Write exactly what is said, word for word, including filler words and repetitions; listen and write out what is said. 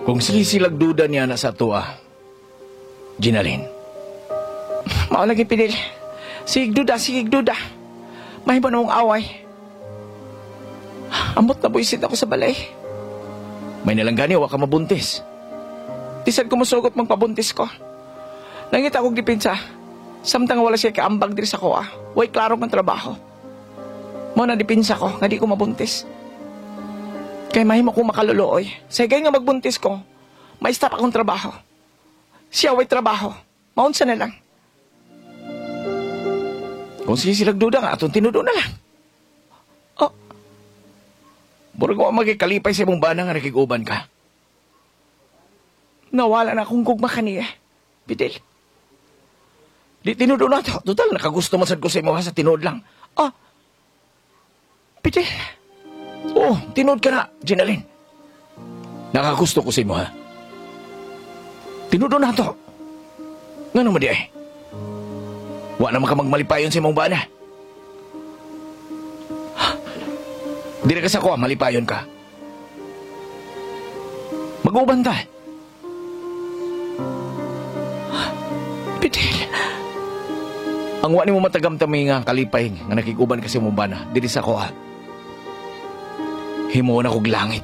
Kung sige silag duda niya na sa tuwa, Ginalyn. Mao lagi, Fidel. Sige duda, sige duda. Mahimo na mong away. Amot na buisit ako sa balay. May nalanggani, wa ka mabuntis. Di sad ko musugot magpabuntis ko. Nangita akong depensa. Samtang wala siya kaambag diri sa kuha. Way klaro ng trabaho. Mao na depensa ko, nga di ko mabuntis. Kay mahimo kong makaluluoy. Sa higay nga magbuntis ko, may stop akong trabaho. Siya way trabaho. Maunsa na lang. Kung sige silag duda nga, atong tinudo na lang. Oh, Murag wa magikalipay sa imong bana nga nakig-uban ka. Nawala na akong gugma kaniya. Fidel. Di tinudo na to. Total, nakagusto man sad ko sa imo ha, sa tinuod lang. Oh. Fidel. Oo, tinuod ka na, Ginalyn. Nakagusto ko sa imo ha. Tinudo na to. Ngano man diay? Wa naman ka magmalipayon sa imong bana. Dili ka sa kuha, malipayon ka. Mag-uban ta. Fidel. Ang wa nimo matagamtami nga kalipay nga nakig-uban ka sa imong bana, dili sa kuha. Himuon ako og langit.